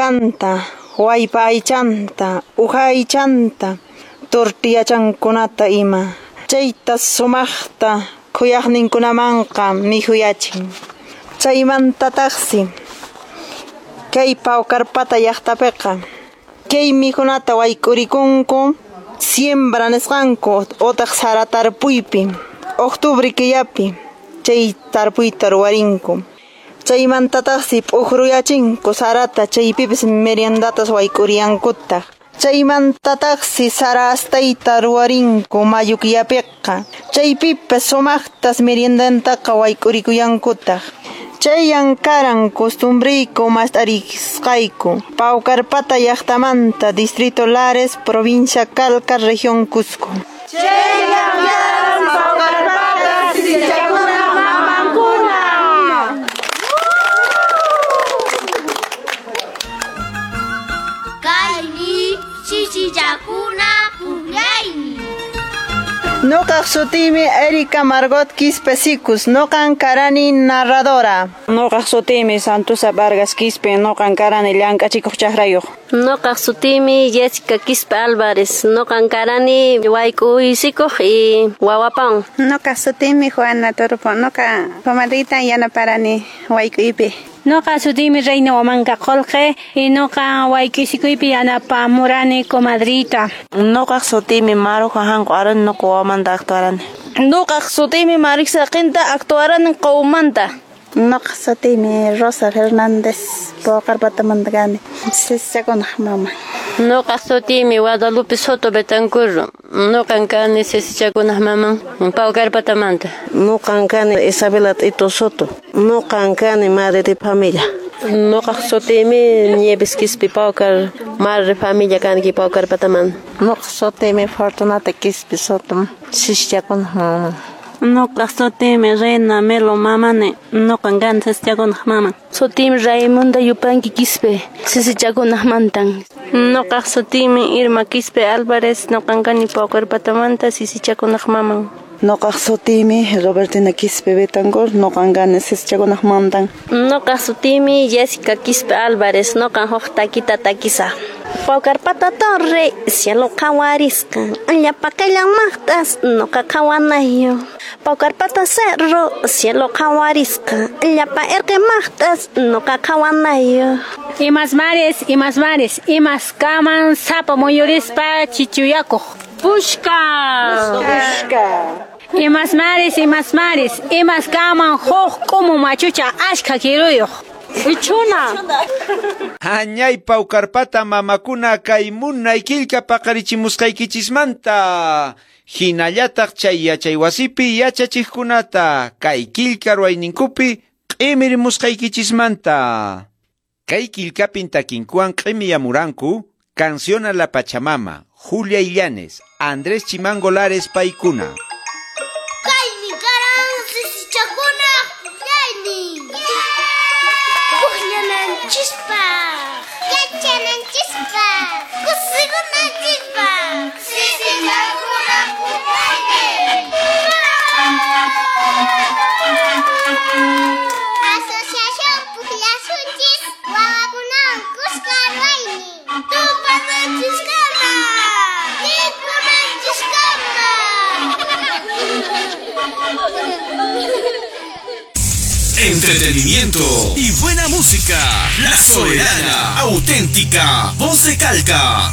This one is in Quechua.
Wakanta, waypa aychanta, uha aychanta, tortillachankunata ima. Chayta sumaqta khuyaqninkunamanqa mikhuyachin. Chaymantataqsi kay Paucarpata llaqtapiqa kay mikhunata wayk'urikunku siembra nisqanku utaq sara tarpuypi octubre killapi chay tarpuyta ruwarinku. Chaymantataqsi p'ukruyachinku sarata chaypipis meriendatas wayk'uriyankutaq. Chaymantataqsi sara astayta ruwarinku mayu killapiqa chaypipas sumaqtas meriendantaqa wayk'urikuyankutaq. Chayan karan costumbriyku mast'arisqayku Paucarpata llaqtamanta distrito Lares, provincia Calca, región Cusco. Chayan karan Paucarpata sisichakuna mamankuna. Kaymi sisichakuna pukllaymi. Nuqaq sutiymi Erika Margot Quispe Sicus, nuqan karani narradora. Nuqaq sutiymi Santusa Vargas Quispe, nuqan karani llank'achikuq chakrayuq. Nuqaq sutiymi Jessica Quispe Álvarez, nuqan karani wayk'uysikuq y wawapan. Nuqaq sutiymi Juana Torpo, nuqa comadrita yanaparani wayk'uypi. Nuqa sutiymi Reina Huamanca Qolqe y nuqa wayk'uysikuypi yanapamurani comadrita. Nuqaq sutiymi Maru Juanqo Arani, nuqa wawamanta actuarani. Nuqaq sutiymi Marisa Qinta actuarani qawmanta. Nuqa sutiymi Rosa Fernández, Paucarpatamanta kani, sisichakunaq mama. Nuqaq sutiymi Guadalupe Soto Betancur, nuqan kani sisichakunaq maman, Paucarpatamanta. Nuqan kani Isabela Tito Soto, nuqan kani madre de familia. Nuqaq sutiymi Nieves Quispe Paucar, madre de familia kanki Paucarpatamanta. Nuqaq sutiymi Fortunata Quispe Soto, sisichakunaq maman. Nuqaq sutiymi Reina Melo mamani, nuqan kani sisichakunaq maman. Sutiymi Raimunda Yupanqui Quispe, sisichakunaq mantan. Nuqaq sutiymi Irma Quispe Álvarez, nuqan kani Paucarpatamanta sisichakunaq maman. Nuqaq sutiymi Robertina Quispe Betancur, nuqan kani sisichakunaq mantan. Nuqaq sutiymi Jessica Quispe Álvarez, nuqan huk takita takisa. Paucarpata torre, cielo qhawarisqa, llapa maqtas, nuqa qhawanayo. Paucarpata cerro, cielo qhawarisqa, llapa erqe maqtas, nuqa qhawanayo. Imas mares, imas mares, imas kaman sapo muyurispa chichuyakuq. Pushka. Pushka. Imas mares, imas mares, imas kaman huk k'umu machucha ashka kiruyuq. Ichuna. Añay Paucarpata mamakuna kay munay killka paqarichimusqaykichismanta. Hinallataq chay yachaywasipi yachachiqkunata kay killka ruwayninkupi q'imirimusqaykichismanta. Kay killkapin takinkuwan q'imiyamuranku Canción a la Pachamama, Julia Illanes, Andrés Chimango Lares paykuna. Kaymi karan sisichakuna pukllaymi. Pukllananchispaq, yachananchispaq, kusikunanchispaq, sisichakuna pukllaymi. Asociación Pukllasunchis wawakunawan kuska ruwaymi. Tupananchiskama, mikhunanchiskama. Entretenimiento y buena música. La Soberana, auténtica, voz de Calca.